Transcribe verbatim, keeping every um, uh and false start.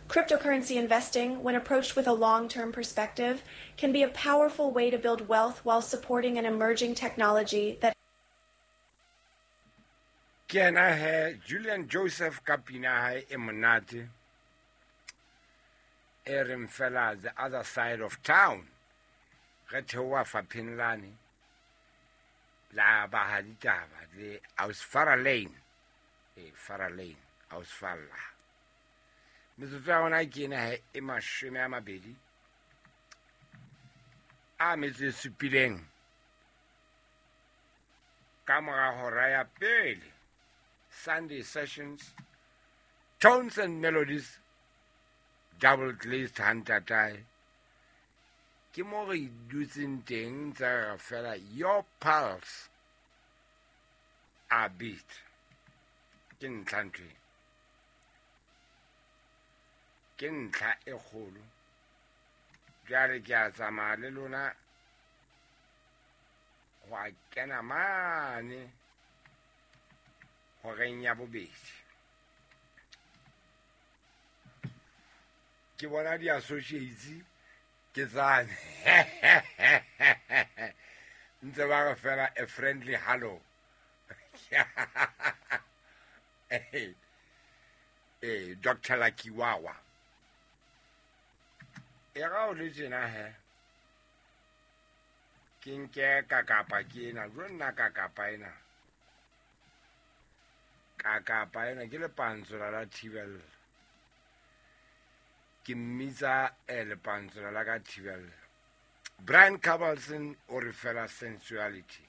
Cryptocurrency investing, when approached with a long-term perspective, can be a powerful way to build wealth while supporting an emerging technology that Ke yena he Julian Joseph ka pina ya hae e monate e reng fela The Other Side of Town. Re theoha fapheng lane la ba ditaba le aus Farah Lane, e Farah Lane aus Falla. Metsotso ya rona ke ena he e mashome a mabedi a metso e supileng ka mora hora ya pele. Sunday Sessions, Tones and Melodies, Double Glazed Hantatae. Ke mo re dutseng teng tsa re fela your pulse a beat. Ke ntlha ntho e. Ke ntlha e kgolo. Jwale ke a tsamaya le lona ho a kena mane horeng ya bobedi. Ke bona di-associates ke tsane. Ntse ba re fela a friendly hello. Eh, Doctor Lakiwawa. E ra o le tjena he. Ke nke ka kapa ke ena, jwo nna ka kapa ena. Ka kapa ena ke lepantsola la Thibella. Ke mmitsa eh, lepantsola la ka Thibella. Brian Carlson o re fela sensuality.